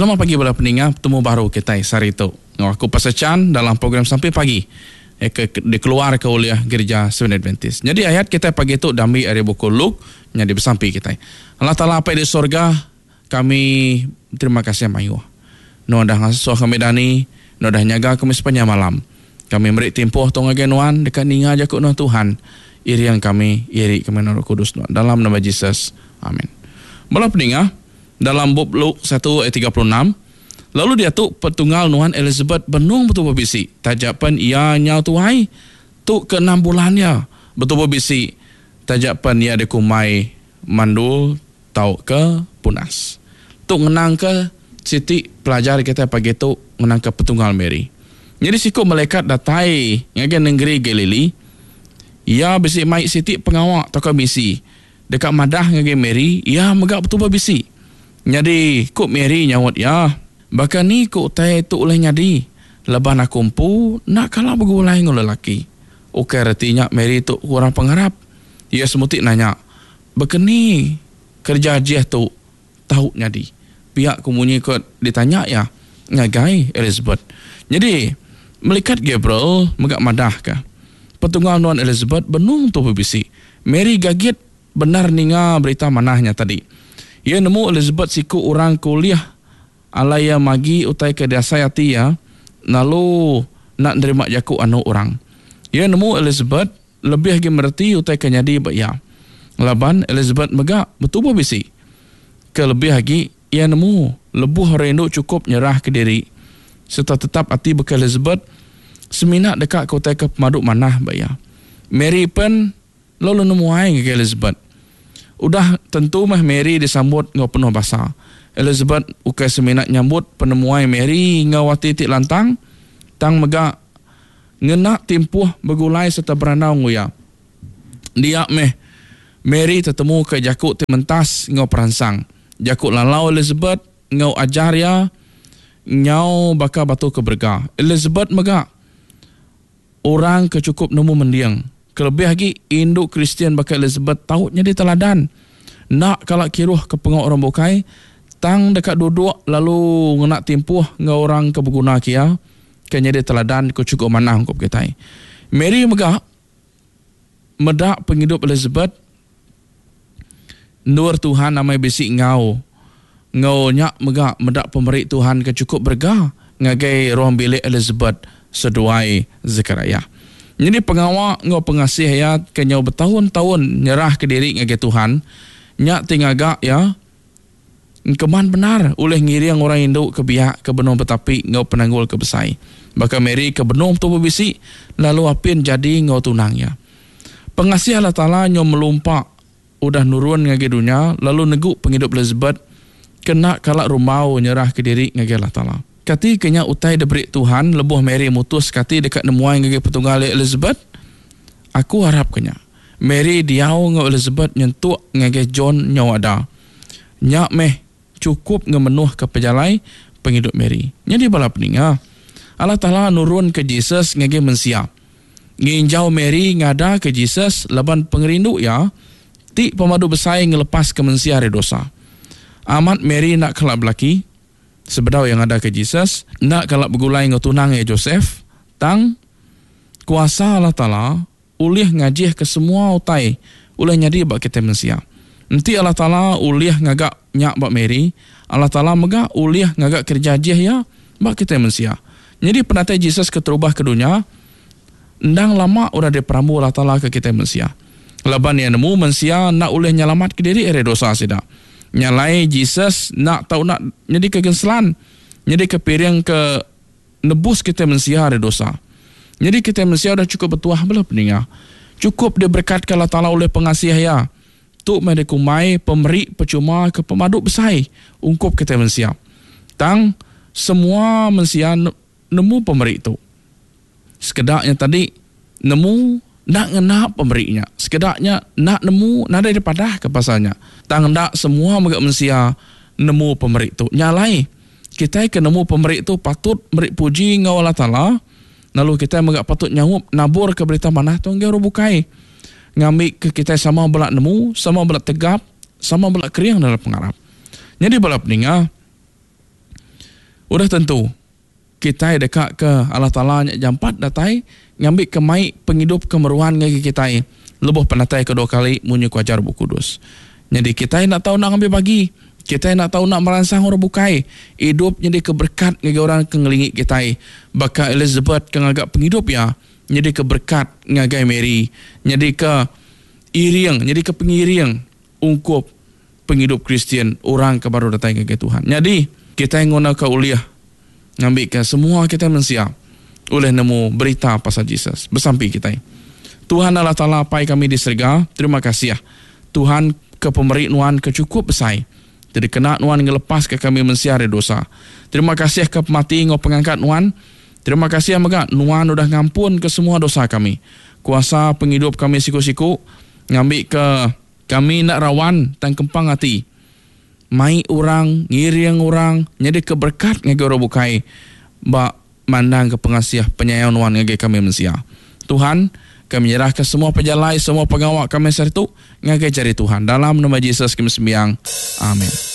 Selamat pagi bala peninga betemu baru kitai sehari tu enggau aku Pastor Chan dalam program Sampi Pagi ke dikeluarka ulih Gerija Seventh Adventist. Nyadi ayat kitai pagi tu diambi ari buku Luke nyadi besampi kitai. Allah Taala Apai di sorga kami beterima kasih mayuh. Nuan udah ngasuh kami dani, nuan udah nyaga kami sepanjang malam. Kami meri timpuh tu ngagai nuan deka ninga jaku nuan Tuhan. Iring kami, iri kami enggau Roh Kudus nuan. Dalam nama Jesus. Amin. Bala peninga, dalam bup Luke satu ayat 36, Lalu diatu petunggal nuan Elizabeth benung betubuh bisi, taja pen iya nyau tuai, tu ke enam bulan iya betubuh bisi, taja pen iya dikumbai mandul tauka punas. Tu ngenangka siti pelajar kitai pagi tu ngenangka petunggal Mary. Nyadi siku malaikat datai ngagai nengeri Galili, iya bisi mai siti pengawa tauka misi deka madah ngagai Mary iya mega betubuh bisi. Nyadi, ku Mary nyaut iya, Baka ni ku utai tu ulih nyadi, laban aku empu enda kala begulai enggau lelaki? Ukai reti nya Mary tu kurang pengarap. Iya semuti nanya, Baka ni kereja ajih tu tau nyadi? Pia ku munyi ke ditanya iya ngagai Elizabeth. Nyadi, melikat Gabriel mega madahka, Petunggal nuan Elizabeth benung tubuh bisi. Mary gagit bendar ninga berita manah nya tadi. Iya nemu Elizabeth siku orang ke ulih alai iya magi utai ke diasai ati iya lalu enda nerima jaku anu orang. Iya nemu Elizabeth lebih agi mereti utai ke nyadi ba iya laban Elizabeth mega betubuh bisi. Ke lebih agi, iya nemu lebuh orang indu chukup nyerahka diri sereta tetap ati baka Elizabeth semina deka ke utai ke pemadu manah ba iya. Mary pen Lalu nemuai ngagai Elizabeth. Udah tentu meh Mary disambut enggau penuh basa. Elizabeth ukai semina nyambut penemuai Mary enggau ati ti lantang, tang mega ngena timpuh begulai sereta berandau enggau iya. Dia meh Mary tetemuka jaku ti mentas enggau peransang. Jaku lalau Elizabeth enggau ajar iya nyau baka batu ke berega. Elizabeth mega Orang ke chukup nemu mending, kelebih agi indu Kristian baka Elizabeth tau nyadi teladan. Enda kala kiruh ke pengawa orang bukai, tang deka duduk lalu ngena timpuh enggau orang ke beguna ke iya, ke nyadi teladan ke chukup manah ungkup kitai. Mary mega meda pengidup Elizabeth endur Tuhan amai bisi enggau. Enggau nya mega meda pemeri Tuhan ke chukup berega ngagai ruang bilik Elizabeth seduai Zekariah. Nyadi pengawa enggau pengasih iya ke nyau betaun-taun nyerahka diri ngagai Tuhan nya ti ngaga iya engkeman bendar ulih ngiring orang indu ke biak ke benung betapi enggau penanggul ke besai baka Mary ke benung betubuh bisi lalu apin jadi enggau tunang iya. Pengasih Allah Taala nyau melumpa udah nurun ngagai dunya lalu negu pengidup Elizabeth ke enda kala rumbau nyerahka diri ngagai Allah Taala. Kati ke nya utai diberi Tuhan lebuh Mary mutuska ati deka nemuai ngagai petunggal iya Elizabeth? Aku arapka nya. Mary diau enggau Elizabeth nyentuk ngagai John nyau ada. Nya meh chukup ngemenuhka pejalai pengidup Mary. Nyadi bala peninga, Allah Taala nurunka Jesus ngagai mensia. Nginjau Mary ngadaka Jesus laban pengerindu iya ti pemadu besai ngelepaska mensia ari dosa. Amat Mary enda kala belaki sebedau iya ngadaka Jesus, enda kala begulai enggau tunang iya Joseph, tang kuasa Allah Taala ulih ngajihka semua utai ulih nyadi ba kitai mensia. Enti Allah Taala ulih ngaga nya ba Mary, Allah Taala mega ulih ngaga kereja ajih iya ba kitai mensia. Nyadi penatai Jesus keterubah ke dunya endang lama udah diperambu Allah Taala ke kitai mensia. Laban iya nemu mensia enda ulih nyelamatka diri ari dosa sida. Nya alai Jesus enda tau enda nyadika genselan, nyadika piring ke nebus kitai mensia ari dosa. Nyadi kitai mensia udah chukup betuah bala peninga. Chukup diberekatka Allah Taala ulih pengasih Iya. Tu meh dikumbai pemeri pechuma ke pemadu besai ungkup kitai mensia. Tang, semua mensia nemu pemeri tu. Sekeda nya tadi nemu enda ngena pemeri nya. Sekeda nya enda nemu nadai dipadahka pasal nya. Tang enda semua mega mensia nemu pemeri tu. Nya alai, kitai ke nemu pemeri tu patut meri puji enggau Allah Taala lalu kitai mega patut nyaup naburka berita manah tu ngagai orang bukai. Ngambika kitai sama bela nemu, sama bela tegap, sama bela kering dalam pengarap. Nyadi bala peninga. Udah tentu kitai deka ke Allah Taala nya jampat datai ngambi ke mai pengidup ke meruan ngagai kitai lebuh penatai kedua kali munyi ku ajar Bup Kudus. Nyadi kitai enda tau enda ngambi bagi, kitai enda tau enda meransang orang bukai idup nyadi ke berekat ngagai orang ke ngelingi kitai baka Elizabeth ke ngaga pengidup iya nyadi ke berekat ngagai Mary, nyadi ke iring, nyadi ke pengiring ungkup pengidup Kristian orang ke baru datai ngagai Tuhan. Nyadi, kitai ngunaka ulih ngambika semua kitai mensia ulih nemu berita pasal Jesus. Besampi kitai. Tuhan Allah Taala Apai kami di serega, terima kasih Tuhan ke pemeri nuan ke chukup besai ti dikena nuan ngelepaska kami mensia ari dosa. Terima kasih ke pemati enggau pengangkat nuan. Terima kasih mega nuan udah ngampunka semua dosa kami. Kuasa pengidup kami siku-siku ngambika kami enda rawan tang kempang ati mai orang, ngiring orang, nyadika berekat ngagai orang bukai ba mandangka pengasih penyayau nuan ngagai kami mensia. Tuhan, kami nyerahka semua pejalai, semua pengawa kami sehari tu ngagai jari Tuhan. Dalam nama Jesus kami sembiang. Amen.